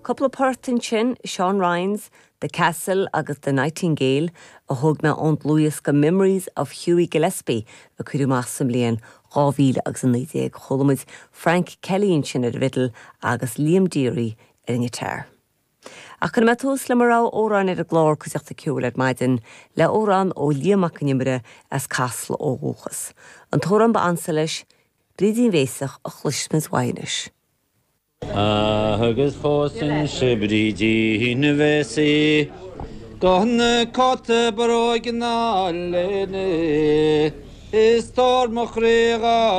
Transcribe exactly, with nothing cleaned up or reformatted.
Cúpla port ansin Seán Ryan's, The Castle agus The Nightingale a thóg mé ón dlúthdhiosca Memories of Hughie Gillespie a cuireadh amach sa mbliain dhá mhíle agus a naoi déag chuala muid Frank Kelly ansin ar an bhfidil agus Liam Deary ar an ngiotár. Ach cuirfidh mé tús le mo rogha amhrán ar an gclár Cuideachta Ceoil ar maidin le amhrán ó Liam Mac Con Iomaire as Casla ó dhúchas. An t-amhrán ba ansa leis, Brídín Bhéasach a chloisfimid anois. Agus phósfainn se Brídín Bhéasaí Gan na cóta bróige ná léine Is tóir mo chroí